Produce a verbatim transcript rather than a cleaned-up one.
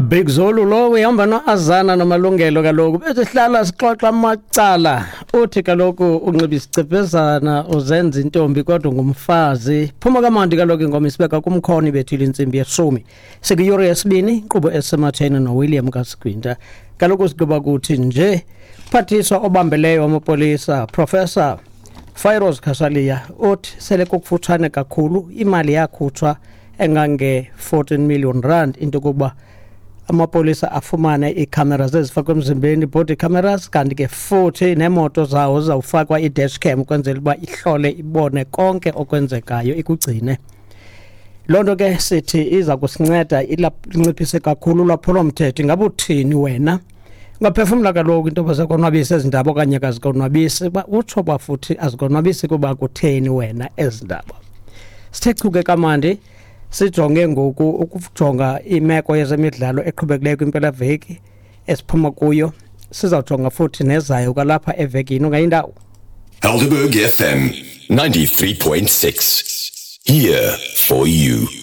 Big Zulu lo uyahamba noAzana noMalungelo. Kaloku besihlala sixoxa amacala. Uthi kaloku unxiba isicebezana, uzenza intombi kodwa ngumfazi. Phuma kamandi kaloku ingoma isibeka kumkhono ibethile intsimbi yeshumi. Sikuyure yesibini, inkqubo esematheni noWilliam Kasigwinta. Kaloku sigqiba kuthi nje phathiswa obambeleyo wamapolisa, Professor Firoz Cachalia, uthi sele kukufutshane kakhulu imali yakhutshwa engange-fourteen million rand into yokokuba amapolisa afumane iikhamera ezifakwe emzimbeni, body cameras, kanti ke futhi neemoto zawo zizawufakwa i-dash cam ukwenzela uba ihlole ibone konke okwenzekayo, ikugcine. Loo nto ke sithi iza kusinceda inciphise kakhulu ulwaphulomthetho. Ingaba uthini wena? Ungaphefumla kaloku into yoba ziyakonwabisa ezi ndaba okanye kazikonwabisi, uba utsho uba futhi azikonwabisi kuba kutheni wena ezi ndaba. Sithe chuke kamandi, sijonge ngoku ukujonga imeko yezemidlalo eqhubekileyo kwimpelaveki esiphuma kuyo. Sizawujonga futhi nezayo kwalapha evekini. Ungayindawo. Helderberg F M ninety-three point six. Here for you.